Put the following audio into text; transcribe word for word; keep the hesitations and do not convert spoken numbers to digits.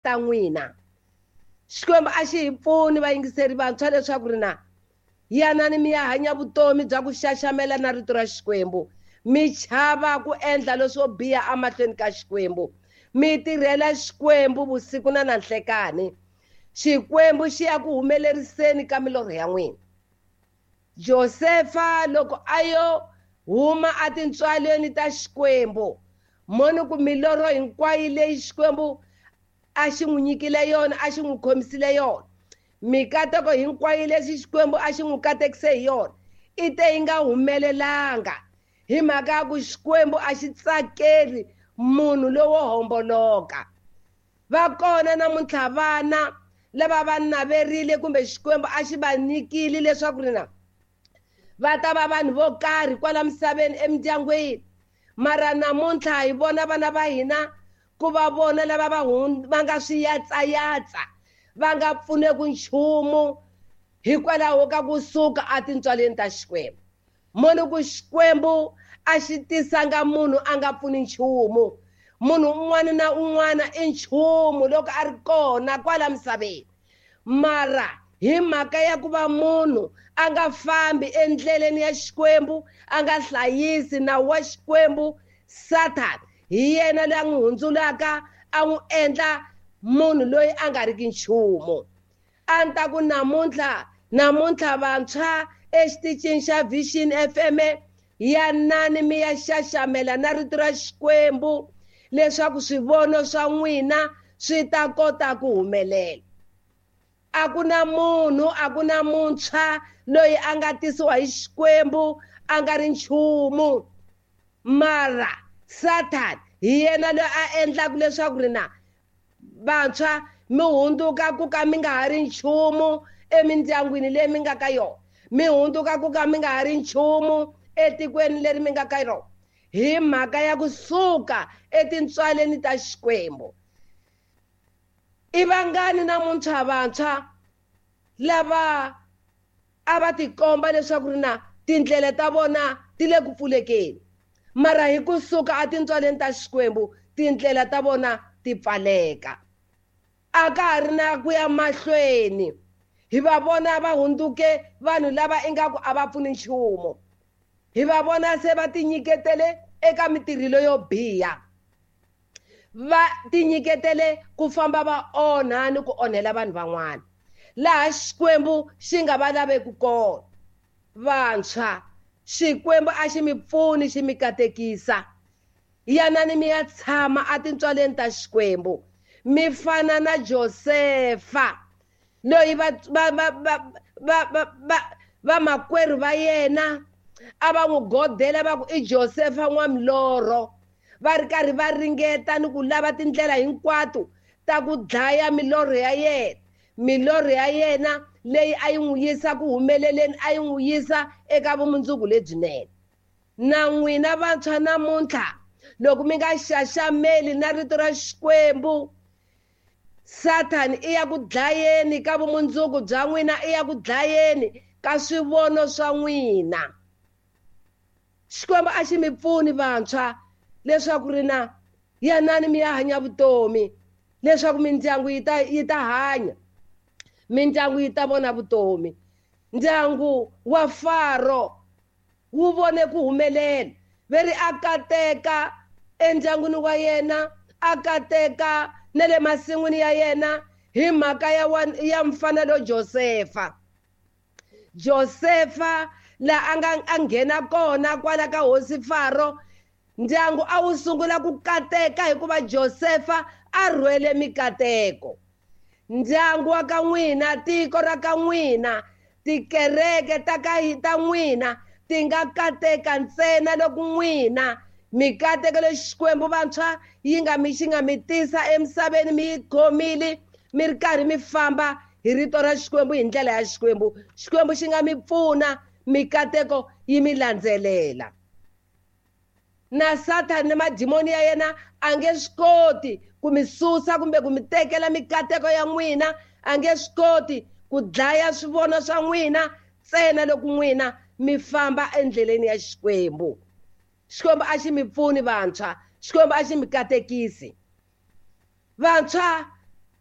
Ta n'wina. Xikwembu a xi hi pfuni vayingiseri vantshwa leswaku ri na yanani mi ya hanya vutomi bya ku xaxamela na rito ra Xikwembu, mi chava ku endla leswo biha emahlweni ka Xikwembu, mi tirhela Xikwembu vusiku na nanhlekani. Xikwembu xi ya ku humeleriseni ka milorho ya n'wina. Josefa loko a yo huma etintswalweni ta Xikwembu, moni ku milorho hinkwayo leyi Xikwembu a xi n'wi nyikile yona, a xi n'wi khomisile yona, mikateko hinkwayo leswi Xikwembu a xi n'wi katekise hi yona, i te yi nga humelelanga hi mhaka ya ku Xikwembu a xi tsakeli munhu lowo homboloka. Va kona namuntlha vana lava va naverile kumbe Xikwembu a xi va nyikile leswaku ri na va ta va vanhu vo karhi kwala misaveni emindyangwini, mara namuntlha hi vona vana va hina ku va vona lava va va nga swiyatsayatsa, va nga pfuneki nchumu hikwalaho ka kusuka etintswaleni ta Xikwembu. Moni ku Xikwembu a xi tisanga munhu a nga pfuni nchumu. Munhu un'wana na un'wana i nchumu loko a ri kona kwala misaveni, mara hi mhaka ya ku va munhu a nga fambi endleleni ya Xikwembu, a nga hlayisi nawu wa Xikwembu, Satan hi yena loyi a n'wi hundzulaka a n'wi endla munhu loyi a nga riki nchumu. A ni ta ku namuntlha namuntlha vantshwa exitichini xa Vision F M, yanani mi ya xaxamela na rito ra Xikwembu leswaku swivono swa n'wina swi ta kota ku humelela. A ku na munhu, a ku na muntshwa loyi a nga tisiwa hi Xikwembu a nga ri nchumu, mara Satan hi yena loyi a endlaka leswaku ri na vantshwa mi hundzuka ku ka mi nga ha ri nchumu emindyangwini leyi mi nga ka yona, mi hundzuka ku ka mi nga ha ri nchumu etikweni leri mi nga ka rona, hi mhaka ya kusuka etintswaleni ta Xikwembu. I vangani namuntlha vantshwa lava a va tikomba leswaku ri na tindlela ta vona ti le ku pfulekeni, mara hi kusuka etintswaleni ta Xikwembu tindlela ta vona ti pfaleka, a ka ha ri na ku ya mahlweni. Hi va vona va hundzuke vanhu lava ingaku a va pfuni nchumu, hi va vona se va tinyiketele eka mitirhelo yo biha, va tinyiketele ku famba va onha ni ku onhela vanhu van'wana laha Xikwembu xi nga va laveki kona. Vantshwa, Xikwembu a xi mi pfuni, xi mi katekisa. Yanani mi ya tshama etintswaleni ta Xikwembu, mi fana na Josefa loyi va va va va va va va vamakwerhu va yena a va n'wi godela va ku i Josefa n'wamilorho, va ri karhi va ringeta ni ku lava tindlela hinkwato ta ku dlaya milorho ya yena, milorho ya yena leyi a yi n'wi yisa ku humeleleni, a yi n'wi yisa eka vumundzuku lebyinene. Na n'wina vantshwa namuntlha loko mi nga xaxameli na rito ra Xikwembu, Satan i ya ku dlayeni ka vumundzuku bya n'wina, i ya ku dlayeni ka swivono swa n'wina. Xikwembu a xi mi pfuni vantshwa leswaku ri na yanani mi ya hanya vutomi, leswaku mindyangu yi ta yi ta hanya, mindyangu yi ta vona vutomi. Ndyangu wa Faro wu vone ku humelela, ve ri a kateka endyangwini wa yena, a kateka na le masin'wini ya yena hi mhaka ya ya mfanelo Josefa. Josefa la a nga a nghena kona kwala ka hosi Faro, ndyangu a wu sungula ku kateka hikuva Josefa a rhwele mikateko. Ndyangu wa ka n'wina, tiko ra ka n'wina, tikereke ta ka ta n'wina ti nga kateka ntsena loko n'wina mikateko leyi Xikwembu vantshwa yi nga mi xi nga mi tisa emisaveni mi yi khomile, mi ri karhi mi famba hi rito ra Xikwembu, hi ndlela ya Xikwembu. Xikwembu xi nga mi pfuna, mikateko yi mi landzelela. Na Satan ni madimoni ya yena a nge swi koti ku mi susa kumbe ku mi tekela mikateko ya n'wina, a nge swi koti ku dlaya swivono swa n'wina ntsena loko n'wina mi famba endleleni ya Xikwembu. Xikwembu a xi mi pfuni vantshwa, Xikwembu a xi mi katekisi. Vantshwa,